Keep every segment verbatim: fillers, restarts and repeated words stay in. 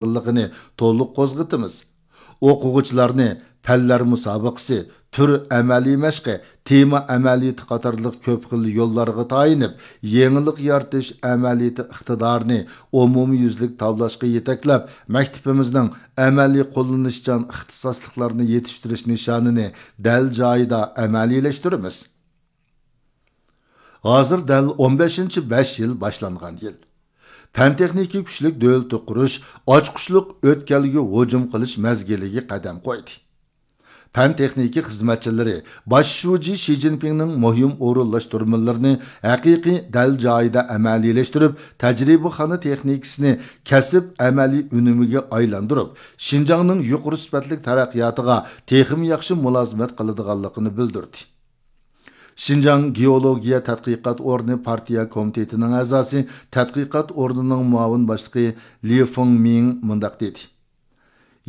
قىلغىنى تولۇق قوزغىتىمىز. ئوقۇغۇچىلارنى پەنلەر مۇسابىقىسى، تۈر ئەمەلىي مەشقى، تېما ئەمەلىيىتى قاتارلىق كۆپ خىل يوللارغا تايىنىپ، يېڭىلىق يارىتىش ئەمەلىيىتى ئىقتىدارىنى ئومۇميۈزلۈك تاۋلاشقا يېتەكلەپ، مەكتىپىمىزنىڭ ئەمەلىي قوللىنىشچان ئىختىساسلىقلارنى يېتىشتۈرۈش نىشانىنى دەل جايىدا ئەمەلىيلەشتۈرىمىز. ھازىر دەل ئون بەشىنچى بەش يىل باشلانغان يىل. پەن تېخنىكا كۈچلۈك دۆلىتى قۇرۇش ئاچقۇچلۇق ئۆتكەلگە ھۇجۇم قىلىش مەزگىلىگە قەدەم قويدى. پەن تېخنىكا خىزمەتچىلىرى باش شۇجى شى جىنپىڭنىڭ مۇھىم ئورۇنلاشتۇرمىلىرىنى ھەقىقىي دەل جايىدا ئەمەلىيلەشتۈرۈپ، تەجرىبىخانا تېخنىكىسىنى كەسىپ ئەمەلىي ئۈنۈمىگە ئايلاندۇرۇپ، شىنجاڭنىڭ يۇقىرى سۈپەتلىك تەرەققىياتىغا تېخىمۇ ياخشى مۇلازىمەت قىلىدىغانلىقىنى بىلدۈردى. شىنجاڭ گېئولوگىيە تەتقىقات ئورنى پارتىيە كومىتېتىنىڭ ئەزاسى، تەتقىقات ئورنىنىڭ مۇئاۋىن باشلىقى لى فېڭمىڭ مۇنداق دېدى: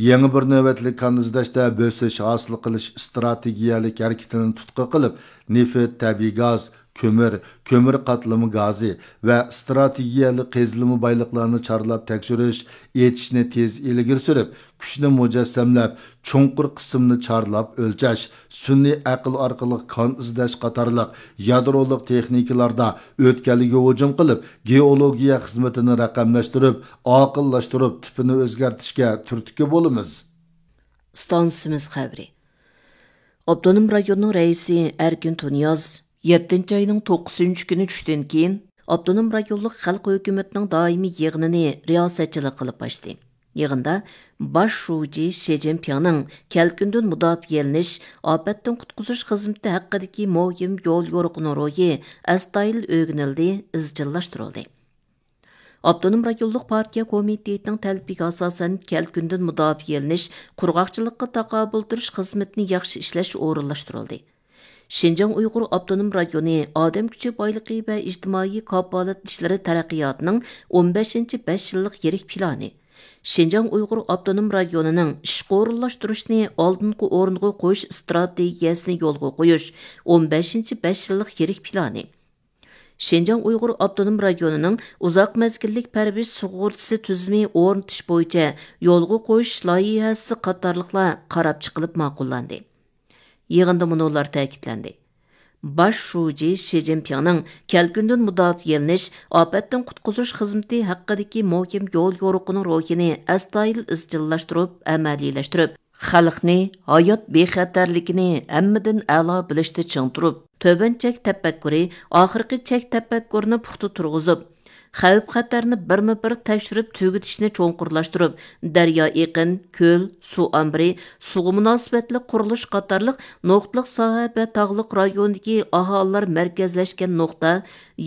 يېڭى بىر نۆۋەتلىك كان ئىزدەشتە بۆسۈش ھاسىل قىلىش ئىستراتېگىيەلىك ھەرىكىتىنى تۇتقا قىلىپ، نېفىت، تەبىئىي گاز، كۆمۈر، كۆمۈر قاتلىما گازى ۋە ئىستراتېگىيەلىك قېزىلما بايلىقلارنى چارلاپ تەكشۈرۈش، ئېچىشنى تېز ئىلگىرى سۈرۈپ، كۈچنى مۇجەسسەملەپ، چوڭقۇر قىسىمنى چارلاپ ئۆلچەش، سۈنئىي ئەقىل ئارقىلىق كان ئىزدەش قاتارلىق يادرولۇق تېخنىكىلاردا ئۆتكەلگە ھۇجۇم قىلىپ، گېئولوگىيە خىزمىتىنى رەقەملەشتۈرۈپ، ئاقىللاشتۇرۇپ، تىپىنى ئۆزگەرتىشكە تۈرتكە بولىمىز. ئىستانسىمىز خەۋىرى. ئاپتونوم رايوننىڭ رەئىسى ئەركىن تۇنىياز يەتتىنچى ئاينىڭ توققۇزىنچى كۈنى چۈشتىن كېيىن ئاپتونوم رايونلۇق خەلق ھۆكۈمىتىنىڭ دائىمىي يىغىنىنى رىياسەتچىلىك قىلىپ ئاچتى. يىغىندا باش شۇجى شى جىنپىڭنىڭ كەلكۈندىن مۇداپىئەلىنىش، ئاپەتتىن قۇتقۇزۇش خىزمىتى ھەققىدىكى مۇھىم يول يورۇقىنىڭ روھى ئەستايىدىل ئۆگىنىلدى، ئىزچىللاشتۇرۇلدى. ئاپتونوم رايونلۇق پارتىيە كومىتېتىنىڭ تەلىپىگە ئاساسەن، كەلكۈندىن مۇداپىئەلىنىش، قۇرغاقچىلىققا تاقابىل تۇرۇش خىزمىتىنى ياخشى ئىشلەش ئورۇنلاشتۇرۇلدى. شىنجاڭ ئۇيغۇر ئاپتونوم رايونى ئادەم كۈچى بايلىقى ۋە ئىجتىمائىي كاپالەت ئىشلىرى تەرەققىياتىنىڭ ئون بەشىنچى بەش يىللىق يىرىك پىلانى، شىنجاڭ ئۇيغۇر ئاپتونوم رايونىنىڭ ئىشقا ئورۇنلاشتۇرۇشنى ئالدىنقى ئورۇنغا قويۇش ئىستراتېگىيەسىنى يولغا قويۇش ئون بەشىنچى بەش يىللىق يىرىك پىلانى، شىنجاڭ ئۇيغۇر ئاپتونوم رايونىنىڭ ئۇزاق مەزگىللىك پەرۋىش سۇغۇرتىسى تۈزۈمى ئورنىتىش بويىچە يولغا قويۇش لايىھەسى قاتارلىقلار قاراپ چىقىلىپ ماقۇللاندى. يىغىندا مۇنۇلار تەكىتلەندى: باش شۇجى شى جىنپىڭنىڭ كەلكۈندىن مۇداپىئەلىنىش، ئاپەتتىن قۇتقۇزۇش خىزمىتى ھەققىدىكى مۇھىم يول يورۇقىنىڭ روھىنى ئەستايىدىل ئىزچىللاشتۇرۇپ ئەمەلىيلەشتۈرۈپ، خەلقنى ھايات بىخەتەرلىكىنى ھەممىدىن ئەلا بىلىشتە چىڭ تۇرۇپ، تۆۋەن چەك تەپەككۇرى، ئاخىرقى چەك تەپەككۇرىنى پۇختا تۇرغۇزۇپ، خەۋپ-خەتەرنى بىرمۇ بىر تەكشۈرۈپ تۈگىتىشنى چوڭقۇرلاشتۇرۇپ، دەريا ئېقىن، كۆل، سۇ ئامبىرى، سۇغا مۇناسىۋەتلىك قۇرۇلۇش قاتارلىق نۇقتىلىق ساھە ۋە تاغلىق رايوندىكى ئاھالىلەر مەركەزلەشكەن نۇقتا،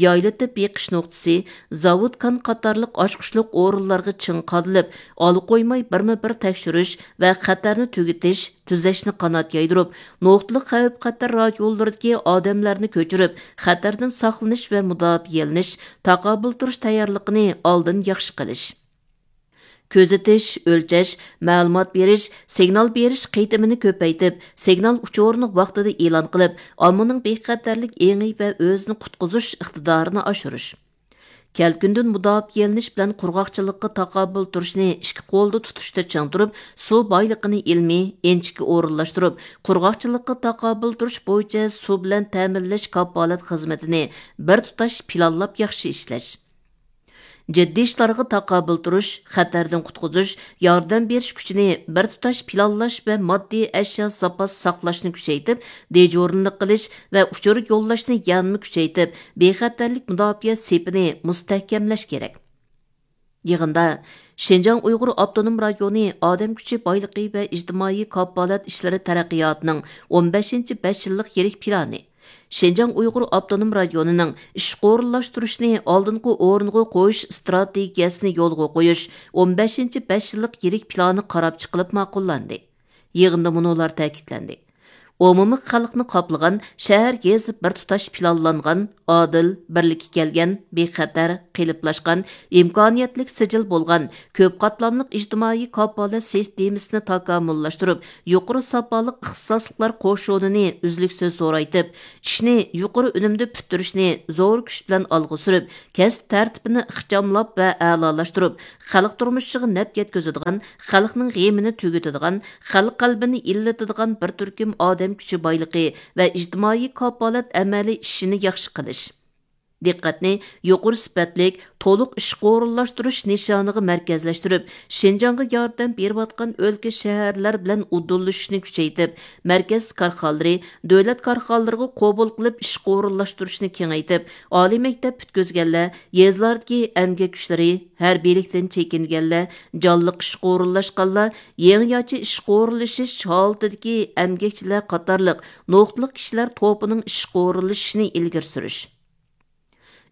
يايلىتىپ بېقىش نۇقتىسى، زاۋۇت كان قاتارلىق ئاچقۇچلۇق ئورۇنلارغا چىڭ قادىلىپ، ئالا قويماي بىرمۇ بىر تەكشۈرۈش ۋە خەتەرنى تۈگىتىش، تۈزەشنى قانات يايدۇرۇپ، نۇقتىلىق خەۋپ-خەتەر رايونلىرىدىكى ئادەملەرنى كۆچۈرۈپ، خەتەردىن ساقلىنىش ۋە مۇداپىئەلىنىش، تاقابىل تۇرۇش تەييارلىقىنى ئالدىن ياخشى قىلىش. كۆزىتىش، ئۆلچەش، مەلۇمات بېرىش، سىگنال بېرىش قېتىمىنى كۆپەيتىپ، سىگنال ئۇچۇرىنى ۋاقتىدا ئېلان قىلىپ، ئاممىنىڭ بىخەتەرلىك ئېڭى ۋە ئۆزىنى قۇتقۇزۇش ئىقتىدارىنى ئاشۇرۇش. كەلكۈندىن مۇداپىئەلىنىش بىلەن قۇرغاقچىلىققا تاقابىل تۇرۇشنى ئىككى قولدا تۇتۇشتا چىڭ تۇرۇپ، سۇ بايلىقىنى ئىلمىي، ئىنچىكە ئورۇنلاشتۇرۇپ، قۇرغاقچىلىققا تاقابىل تۇرۇش بويىچە سۇ بىلەن تەمىنلەش كاپالەت خىزمىتىنى بىر تۇتاش پىلانلاپ ياخشى ئىشلەش. جىددىي ئىشلارغا تاقابىل تۇرۇش، خەتەردىن قۇتقۇزۇش، ياردەم بېرىش كۈچىنى بىر تۇتاش پىلانلاش ۋە ماددىي ئەشيا زاپاس ساقلاشنى كۈچەيتىپ، دېجۇرنىلىق قىلىش ۋە ئۇچۇر يوللاشنى يەنىمۇ كۈچەيتىپ، بىخەتەرلىك مۇداپىئە سېپىنى مۇستەھكەملەش كېرەك. يىغىندا شىنجاڭ ئۇيغۇر ئاپتونوم رايونى ئادەم كۈچى بايلىقى ۋە ئىجتىمائىي كاپالەت ئىشلىرى تەرەققىياتىنىڭ ئون بەشىنچى بەش يىللىق يىرىك پىلانى، شىنجاڭ ئۇيغۇر ئاپتونوم رايونىنىڭ ئىشقا ئورۇنلاشتۇرۇشنى ئالدىنقى ئورۇنغا قويۇش ئىستراتېگىيەسىنى يولغا قويۇش ئون بەشىنچى بەش يىللىق يىرىك پىلانى قاراپ چىقىلىپ ماقۇللاندى. يىغىندا مۇنۇلار تەكىتلەندى: ئومۇمىي خەلقنى قاپلىغان، شەھەر يېزا بىر تۇتاش پىلانلانغان، ئادىل، بىرلىككە كەلگەن، بىخەتەر، قېلىپلاشقان، ئىمكانىيەتلىك سىجىل بولغان، كۆپ قاتلاملىق ئىجتىمائىي كاپالەت سىستېمىسىنى تاكامۇللاشتۇرۇپ، يۇقىرى ساپالىق ئىختىساسلىقلار قوشۇنىنى ئۈزلۈكسىز زورايتىپ، ئىشنى يۇقىرى ئۈنۈمدە پۈتتۈرۈشنى زور كۈچ بىلەن ئالغا سۈرۈپ، كەسىپ تەرتىپىنى ئىخچاملاپ ۋە ئەلالاشتۇرۇپ، خەلق تۇرمۇشىغا نەپ يەتكۈزىدىغان، خەلقنىڭ غېمىنى تۈگىتىدىغان، خەلق قەلبىنى ئىللىتىدىغان بىر تۈركۈم ئادەم كۈچى بايلىقى ۋە ئىجتىمائىي كاپالەت ئەمەلىي ئىشىنى ياخشى قىلىش. دىققەتنى يۇقىرى سۈپەتلىك، تولۇق ئىشقا ئورۇنلاشتۇرۇش نىشانىغا مەركەزلەشتۈرۈپ، شىنجاڭغا ياردەم بېرىۋاتقان ئۆلكە، شەھەرلەر بىلەن ئۇدۇللىشىشنى كۈچەيتىپ، مەركەز كارخانىلىرى، دۆلەت كارخانىلىرىغا قوبۇل قىلىپ ئىشقا ئورۇنلاشتۇرۇشنى كېڭەيتىپ، ئالىي مەكتەپ پۈتكۈزگەنلەر، يېزىلاردىكى ئەمگەك كۈچلىرى، ھەربىيلىكتىن چېكىنگەنلەر، جانلىق ئىشقا ئورۇنلاشقانلار، يېڭىچە ئىشقا ئورۇنلىشىش ھالىتىدىكى ئەمگەكچىلەر قاتارلىق نۇقتىلىق كىشىلەر توپىنىڭ ئىشقا ئورۇنلىشىشىنى ئىلگىرى سۈرۈش.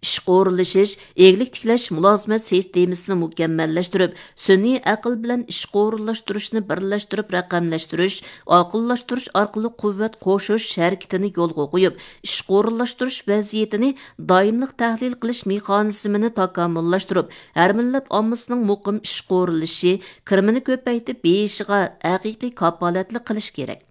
ئىشقا ئورۇنلىشىش، ئىگىلىك تىكلەش مۇلازىمەت سىستېمىسىنى مۇكەممەللەشتۈرۈپ، سۈنئىي ئەقىل بىلەن ئىشقا ئورۇنلاشتۇرۇشنى بىرلەشتۈرۈپ رەقەملەشتۈرۈش، ئاقىللاشتۇرۇش ئارقىلىق قۇۋۋەت قوشۇش ھەرىكىتىنى يولغا قويۇپ، ئىشقا ئورۇنلاشتۇرۇش ۋەزىيىتىنى دائىملىق تەھلىل قىلىش مېخانىزمىنى تاكامۇللاشتۇرۇپ، ھەر مىللەت ئاممىسىنىڭ مۇقىم ئىشقا ئورۇنلىشىشى، كىرىمىنى كۆپەيتىپ بېيىشىغا ھەقىقىي كاپالەتلىك قىلىش كېرەك.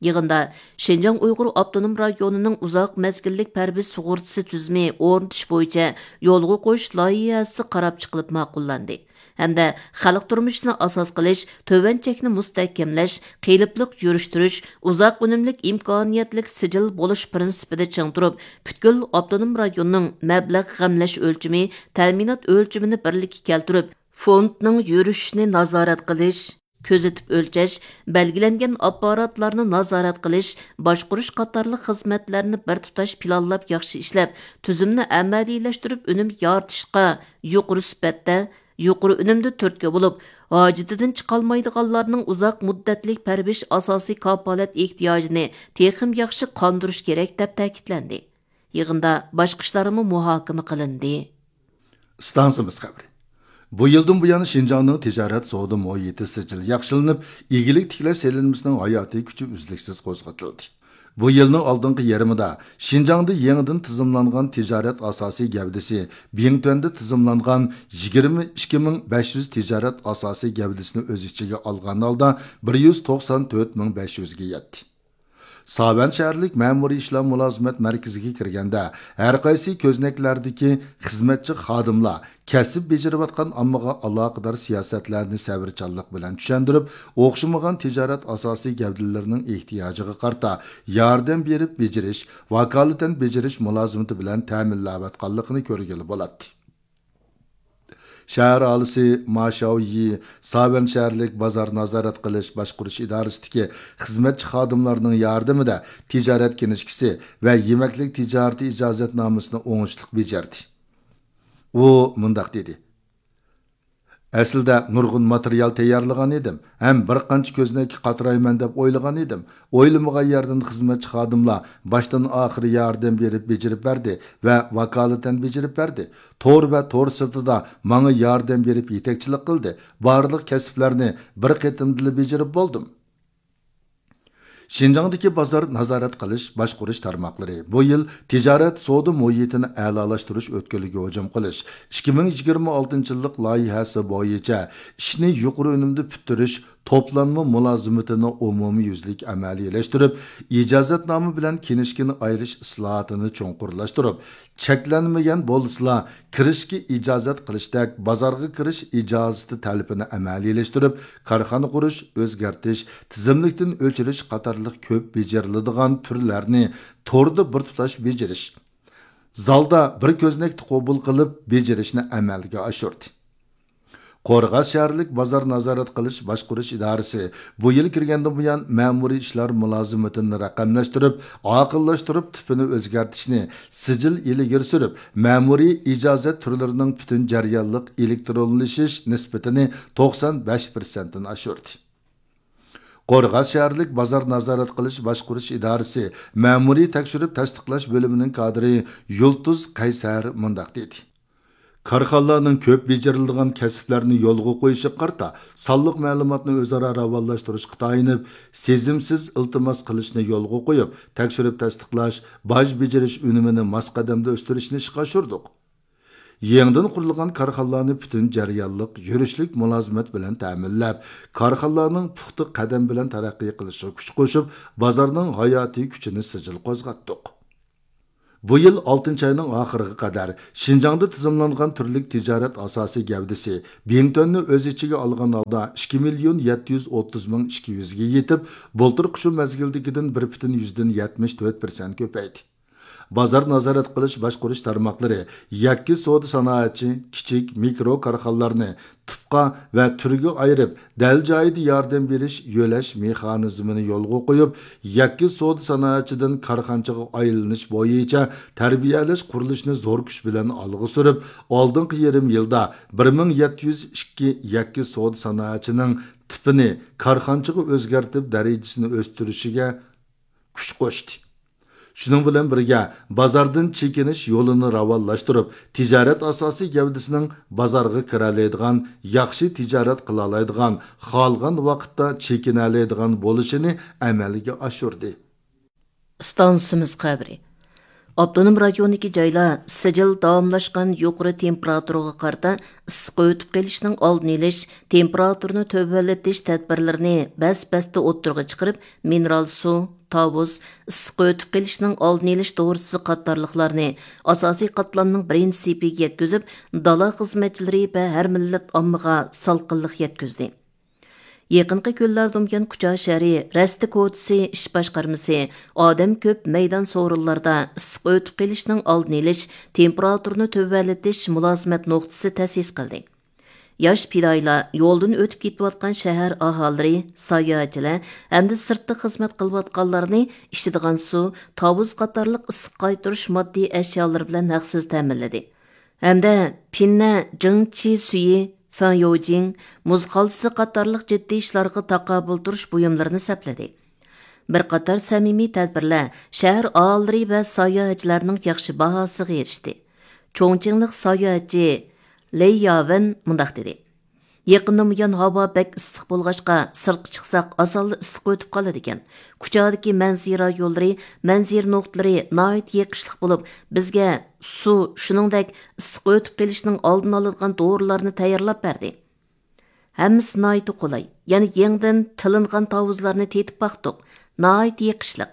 يىغىندا شىنجاڭ ئۇيغۇر ئاپتونوم رايونىنىڭ ئۇزاق مەزگىللىك پەرۋىش سۇغۇرتىسى تۈزۈمى ئورنىتىش بويىچە يولغا قويۇش لايىھەسى قاراپ چىقىلىپ ماقۇللاندى ھەمدە خەلق تۇرمۇشىنى ئاساس قىلىش، تۆۋەن چەكنى مۇستەھكەملەش، قېلىپلىق يۈرۈشتۈرۈش، ئۇزاق ئۈنۈملۈك ئىمكانىيەتلىك سىجىل بولۇش پىرىنسىپىدا چىڭ تۇرۇپ، پۈتكۈل ئاپتونوم رايوننىڭ مەبلەغ غەملەش ئۆلچىمى، تەمىنات ئۆلچىمىنى بىرلىككە كەلتۈرۈپ، فوندنىڭ يۈرۈشۈشىنى نازارەت قىلىش، كۆزىتىپ ئۆلچەش، بەلگىلەنگەن ئاپپاراتلارنى نازارەت قىلىش، باشقۇرۇش قاتارلىق خىزمەتلەرنى بىر تۇتاش پىلانلاپ ياخشى ئىشلەپ، تۈزۈمنى ئەمەلىيلەشتۈرۈپ ئۈنۈم يارىتىشقا يۇقىرى سۈپەتتە، يۇقىرى ئۈنۈمدە تۈرتكە بولۇپ، ھاجىتىدىن چىقالمايدىغانلارنىڭ ئۇزاق مۇددەتلىك پەرۋىش ئاساسىي كاپالەت ئېھتىياجىنى تېخىمۇ ياخشى قاندۇرۇش كېرەك، دەپ تەكىتلەندى. يىغىندا باشقا ئىشلارمۇ مۇھاكىمە قىلىندى. ئىستانسىمىز خەۋىرى. بۇ يىلدىن بۇيان شىنجاڭنىڭ تىجارەت سودا مۇھىتى سىجىل ياخشىلىنىپ، ئىگىلىك تىكلەش سېلىنمىسىنىڭ ھاياتىي كۈچى ئۈزلۈكسىز قوزغىتىلدى. بۇ يىلنىڭ ئالدىنقى يېرىمىدا شىنجاڭدا يېڭىدىن تىزىملانغان تىجارەت ئاساسىي گەۋدىسى، بىڭتۈەندە تىزىملانغان يىگىرمە ئىككى مىڭ بەش يۈز تىجارەت ئاساسىي گەۋدىسىنى ئۆز ئىچىگە ئالغان ھالدا بىر يۈز توقسان تۆت مىڭ بەش يۈزگە يەتتى. ساۋەن شەھەرلىك مەمۇرىي ئىشلار مۇلازىمەت مەركىزىگە كىرگەندە، ھەر قايسى كۆزنەكلەردىكى خىزمەتچى خادىملار كەسىپ بېجىرىۋاتقان ئاممىغا ئالاقىدار سىياسەتلەرنى سەۋرچانلىق بىلەن چۈشەندۈرۈپ، ئوخشىمىغان تىجارەت ئاساسىي گەۋدىلىرىنىڭ ئېھتىياجىغا قارىتا ياردەم بېرىپ بېجىرىش، ۋاكالىتەن بېجىرىش مۇلازىمىتى بىلەن تەمىنلەۋاتقانلىقىنى كۆرگىلى بولاتتى. شەھەر ئاھالىسى ما شياۋيى ساۋەن شەھەرلىك بازار نازارەت قىلىش باشقۇرۇش ئىدارىسىدىكى خىزمەتچى خادىملارنىڭ ياردىمىدە تىجارەت كىنىشكىسى ۋە يېمەكلىك تىجارىتى ئىجازەتنامىسىنى ئوڭۇشلۇق بېجەردى. ئۇ مۇنداق دېدى: ئەسلىدە نۇرغۇن ماتېرىيال تەييارلىغان ئىدىم ھەم بىر قانچە كۆزنەككە قاترايمەن دەپ ئويلىغان ئىدىم. ئويلىمىغان يەردىن خىزمەتچى خادىملار باشتىن ئاخىر ياردەم بېرىپ بېجىرىپ بەردى ۋە ۋاكالىتەن بېجىرىپ بەردى. تور ۋە تور سىرتىدا ماڭا ياردەم بېرىپ يېتەكچىلىك قىلدى. بارلىق كەسىپلەرنى بىر قېتىمدىلا بېجىرىپ بولدۇم. شىنجاڭدىكى بازار نازارەت قىلىش باشقۇرۇش تارماقلىرى بۇ يىل تىجارەت سودا مۇھىتىنى ئەلالاشتۇرۇش ئۆتكىلىگە ھۇجۇم قىلىش ئىككى مىڭ يىگىرمە ئالتىنچى يىللىق لايىھەسى بويىچە ئىشنى يۇقىرى ئۈنۈمدە پۈتتۈرۈش توپلانما مۇلازىمىتىنى ئومۇميۈزلۈك ئەمەلىيلەشتۈرۈپ، ئىجازەتنامە بىلەن كىنىشكىنى ئايرىش ئىسلاھاتىنى چوڭقۇرلاشتۇرۇپ، چەكلەنمىگەن بولسىلا، كىرىشكە ئىجازەت قىلىشتەك بازارغا كىرىش ئىجازىتى تەلىپىنى ئەمەلىيلەشتۈرۈپ، كارخانا قۇرۇش، ئۆزگەرتىش، تىزىملىكتىن ئۆچۈرۈش قاتارلىق كۆپ بېجىرىلىدىغان تۈرلەرنى توردا بىر تۇتاش بېجىرىش، زالدا بىر كۆزنەكتە قوبۇل قىلىپ بېجىرىشنى ئەمەلگە ئاشۇردى. قورغاس شەھەرلىك بازار نازارەت قىلىش باشقۇرۇش ئىدارىسى بۇ يىل كىرگەندىن بۇيان مەمۇرىي ئىشلار مۇلازىمىتىنى رەقەملەشتۈرۈپ، ئاقىللاشتۇرۇپ، تىپىنى ئۆزگەرتىشنى سىجىل ئىلگىرى سۈرۈپ، مەمۇرىي ئىجازەت تۈرلىرىنىڭ پۈتۈن جەريانلىق ئېلېكترونلىشىش نىسبىتىنى توقسان بەش پىرسەنتتىن ئاشۇردى. قورغاس شەھەرلىك بازار نازارەت قىلىش باشقۇرۇش ئىدارىسى مەمۇرىي تەكشۈرۈپ تەستىقلاش بۆلۈمىنىڭ كادىرى يۇلتۇز قەيسەر مۇنداق دېدى: كارخانىلارنىڭ كۆپ بېجىرىلىدىغان كەسىپلەرنى يولغا قويۇشىغا قارىتا سانلىق مەلۇماتنى ئۆزئارا راۋانلاشتۇرۇشقا تايىنىپ، سېزىمسىز ئىلتىماس قىلىشنى يولغا قويۇپ، تەكشۈرۈپ تەستىقلاش، باج بېجىرىش ئۈنۈمىنى ماس قەدەمدە ئۆستۈرۈشنى ئىشقا ئاشۇردۇق. يېڭىدىن قۇرۇلغان كارخانىلارنى پۈتۈن جەريانلىق، يۈرۈشلۈك مۇلازىمەت بىلەن تەمىنلەپ، كارخانىلارنىڭ پۇختا قەدەم بىلەن تەرەققىي قىلىشىغا كۈچ قوشۇپ، بازارنىڭ ھاياتىي كۈچىنى سىجىل قوزغاتتۇق. بۇ يىل ئالتىنچى ئاينىڭ ئاخىرىغا قەدەر شىنجاڭدا تىزىملانغان تۈرلۈك تىجارەت ئاساسىي گەۋدىسى بىڭتۈەننى ئۆز ئىچىگە ئالغان ھالدا ئىككى مىليون يەتتە يۈز ئوتتۇز مىڭ ئىككى يۈزگە يېتىپ، بۇلتۇرقى شۇ مەزگىلدىكىدىن بىر پۈتۈن يۈزدىن يەتمىش تۆت پىرسەنت كۆپەيدى. بازار نازارەت قىلىش باشقۇرۇش تارماقلىرى يەككە سودا سانائەتچى، كىچىك، مىكرو كارخانىلارنى تىپقا ۋە تۈرگە ئايرىپ، دەل جايىدا ياردەم بېرىش، يۆلەش مېخانىزمىنى يولغا قويۇپ، يەككە سودا سانائەتچىدىن كارخانىچىغا ئايلىنىش بويىچە تەربىيەلەش قۇرۇلۇشىنى زور كۈچ بىلەن ئالغا سۈرۈپ، ئالدىنقى يېرىم يىلدا بىر مىڭ يەتتە يۈز ئىككى يەككە سودا سانائەتچىنىڭ تىپىنى كارخانىچىغا ئۆزگەرتىپ، دەرىجىسىنى ئۆستۈرۈشىگە كۈچ قوشتى. شۇنىڭ بىلەن بىرگە، بازاردىن چېكىنىش يولىنى راۋانلاشتۇرۇپ، تىجارەت ئاساسىي گەۋدىسىنىڭ بازارغا كىرەلەيدىغان، ياخشى تىجارەت قىلالايدىغان، خالىغان ۋاقىتتا چېكىنەلەيدىغان بولۇشىنى ئەمەلگە ئاشۇردى. ئىستانسىمىز خەۋىرى. ئاپتونوم رايوندىكى جايلار سىجىل داۋاملاشقان يۇقىرى تېمپېراتۇرىغا قارىتا ئىسسىق ئۆتۈپ قېلىشنىڭ ئالدىنى ئېلىش، تېمپېراتۇرىنى تۆۋەنلىتىش تەدبىرلىرىنى بەس-بەستە ئوتتۇرىغا چىقىرىپ، مىنېرال سۇ، تاۋۇز، ئىسسىق ئۆتۈپ قېلىشنىڭ ئالدىنى ئېلىش دورىسى قاتارلىقلارنى ئاساسىي قاتلامنىڭ بىرىنچى سېپىگە يەتكۈزۈپ، دالا خىزمەتچىلىرى ۋە ھەر مىللەت ئاممىغا سالقىنلىق يەتكۈزدى. يېقىنقى كۈنلەردە ئوميان كۇچا شەھىرى رەستە كوچىسى ئىش باشقارمىسى ئادەم كۆپ مەيدان سورۇنلاردا ئىسسىق ئۆتۈپ قېلىشنىڭ ئالدىنى ئېلىش، تېمپېراتۇرىنى تۆۋەنلىتىش مۇلازىمەت نۇقتىسى تەسىس قىلدى. ياش پىدائىيلار يولدىن ئۆتۈپ كېتىۋاتقان شەھەر ئاھالىلىرى، ساياھەتچىلەر ھەمدە سىرتتا خىزمەت قىلىۋاتقانلارنى ئىچىدىغان سۇ، تاۋۇز قاتارلىق ئىسسىق قايتۇرۇش ماددىي ئەشيالىرى بىلەن ھەقسىز تەمىنلىدى. ھەمدە پىننە جىڭچى سۈيى، فېڭيوجىڭ، مۇز خالتىسى قاتارلىق جىددىي ئىشلارغا تاقابىل تۇرۇش بۇيۇملىرىنى سەپلىدى. بىر قاتار سەمىمىي تەدبىرلەر شەھەر ئاھالىلىرى ۋە ساياھەتچىلەرنىڭ ياخشى باھاسىغا ئېرىشتى. چوڭچىڭلىق ساياھەتچى لېي ياۋېن مۇنداق دېدى: يېقىندىن بۇيان ھاۋا بەك ئىسسىق بولغاچقا، سىرتقا چىقساق ئاسانلا ئىسسىق ئۆتۈپ قالىدىكەن. كۇچادىكى مەنزىرە يوللىرى، مەنزىرە نۇقتىلىرى ناھايىتى يېقىشلىق بولۇپ، بىزگە سۇ، شۇنىڭدەك ئىسسىق ئۆتۈپ قېلىشنىڭ ئالدىنى ئالىدىغان دورىلارنى تەييارلاپ بەردى. ھەممىسى ناھايىتى قولاي، يەنە يېڭىدىن تىلىنغان تاۋۇزلارنى تېتىپ باقتۇق. ناھايىتى يېقىشلىق.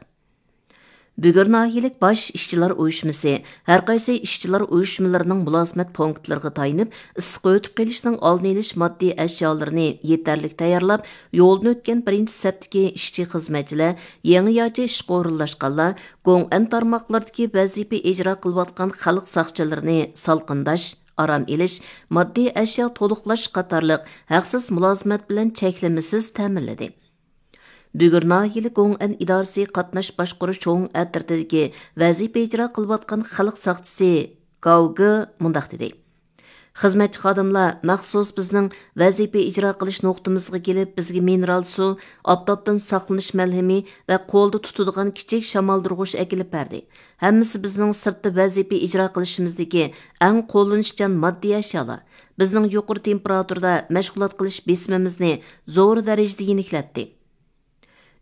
بۈگۈر ناھىيەلىك باش ئىشچىلار ئۇيۇشمىسى ھەر قايسى ئىشچىلار ئۇيۇشمىلىرىنىڭ مۇلازىمەت پونكىتلىرىغا تايىنىپ، ئىسسىق ئۆتۈپ قېلىشنىڭ ئالدىنى ئېلىش ماددىي ئەشيالىرىنى يېتەرلىك تەييارلاپ، يولدىن ئۆتكەن بىرىنچى سەپتىكى ئىشچى-خىزمەتچىلەر، يېڭىچە ئىشقا ئورۇنلاشقانلار، گوڭئەن تارماقلىرىدىكى ۋەزىپە ئىجرا قىلىۋاتقان خەلق ساقچىلىرىنى سالقىنداش، ئارام ئېلىش، ماددىي ئەشيا تولۇقلاش قاتارلىق ھەقسىز مۇلازىمەت بىلەن چەكلىمىسىز تەمىنلىدى. بۈگۈر ناھىيەلىك گوڭئەن ئىدارىسى قاتناش باشقۇرۇش چوڭ ئەترىتىدىكى ۋەزىپە ئىجرا قىلىۋاتقان خەلق ساقچىسى گاۋ گې مۇنداق دېدى: خىزمەتچى خادىملار مەخسۇس بىزنىڭ ۋەزىپە ئىجرا قىلىش نۇقتىمىزغا كېلىپ، بىزگە مىنېرال سۇ، ئاپتاپتىن ساقلىنىش مەلھىمى ۋە قولدا تۇتىدىغان كىچىك شامالدۇرغۇچ ئەكېلىپ بەردى. ھەممىسى بىزنىڭ سىرتتا ۋەزىپە ئىجرا قىلىشىمىزدىكى ئەڭ قوللىنىشچان ماددىي ئەشيالار. بىزنىڭ يۇقىرى تېمپېراتۇرىدا مەشغۇلات قىلىش بېسىمىمىزنى زور دەرىجىدە يېنىكلەتتى.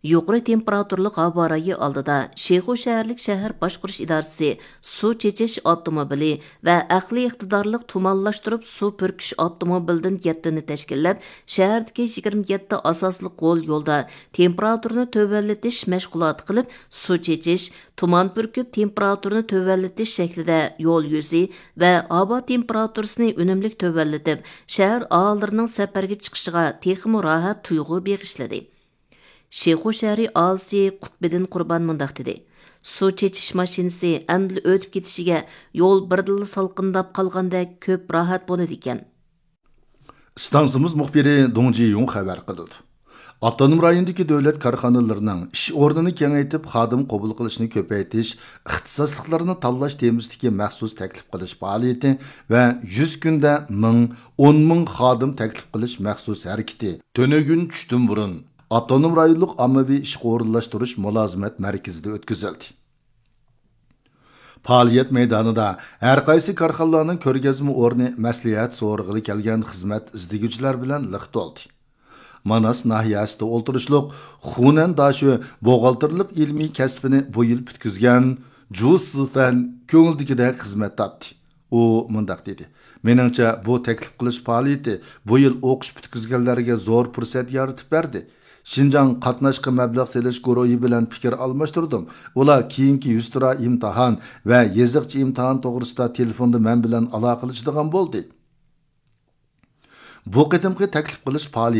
يۇقىرى تېمپېراتۇرلۇق ھاۋا رايى ئالدىدا شىخۇ شەھەرلىك شەھەر باشقۇرۇش ئىدارىسى سۇ چېچىش ئاپتوموبىلى ۋە ئەقلىي ئىقتىدارلىق تۇمانلاشتۇرۇپ سۇ پۈركۈش ئاپتوموبىلىدىن يەتتىنى تەشكىللەپ، شەھەردىكى يىگىرمە يەتتە ئاساسلىق غول يولدا تېمپېراتۇرىنى تۆۋەنلىتىش مەشغۇلاتى قىلىپ، سۇ چېچىش، تۇمان پۈركۈپ تېمپېراتۇرىنى تۆۋەنلىتىش شەكلىدە يول يۈزى ۋە ھاۋا تېمپېراتۇرىسىنى ئۈنۈملۈك تۆۋەنلىتىپ، شەھەر ئاھالىلىرىنىڭ سەپەرگە چىقىشىغا تېخىمۇ راھەت تۇيغۇ بېغىشلىدى. شىخۇ شەھىرى ئاھالىسى قۇتبىدىن قۇربان مۇنداق دېدى: سۇ چېچىش ماشىنىسى ئەمدىلا ئۆتۈپ كېتىشىگە يول بىردىنلا سالقىنداپ قالغاندەك كۆپ راھەت بولىدىكەن. ئىستانسىمىز مۇخبىرى دۇڭ جىيۇڭ خەۋەر قىلىدۇ. ئاپتونوم رايوندىكى دۆلەت كارخانىلىرىنىڭ ئىش ئورنىنى كېڭەيتىپ، خادىم قوبۇل قىلىشنى كۆپەيتىش، ئىختىساسلىقلارنى تاللاش تېمىسىدىكى مەخسۇس تەكلىپ قىلىش پائالىيىتى ۋە يۈز كۈندە مىڭ، ئون مىڭ خادىم تەكلىپ قىلىش مەخسۇس ھەرىكىتى تۈنۈگۈن چۈشتىن بۇرۇن ئاپتونوم رايونلۇق ئاممىۋى ئىشقا ئورۇنلاشتۇرۇش مۇلازىمەت مەركىزىدە ئۆتكۈزۈلدى. پائالىيەت مەيدانىدا ھەرقايسى كارخانىلارنىڭ كۆرگەزمە ئورنى، مەسلىھەت سورىغىلى كەلگەن خىزمەت ئىزدىگۈچىلەر بىلەن لىق تولدى. ماناس ناھىيەسىدە ئولتۇرۇشلۇق خۇنەن داشۆ بوغالتىرلىق ئىلمىي كەسپىنى بۇ يىل پۈتكۈزگەن جۇ سىفەن كۆڭۈلدىكىدەك خىزمەت تاپتى. ئۇ مۇنداق دېدى: مېنىڭچە، بۇ تەكلىپ قىلىش پائالىيىتى بۇ يىل ئوقۇش پۈتكۈزگەنلەرگە زور پۇرسەت يارىتىپ بەردى. شىنجاڭ قاتناشقا مەبلەغ سېلىش گۇرۇھى بىلەن پىكىر ئالماشتۇردۇم. ئۇلار كېيىنكى يۈزتۇرا ئىمتىھان ۋە يېزىقچە ئىمتىھان توغرىسىدا تېلېفوندا مەن بىلەن ئالاقىلىشىدىغان بولدى. بۇ قېتىمقى تەكلىپ قىلىش پائالىيىتى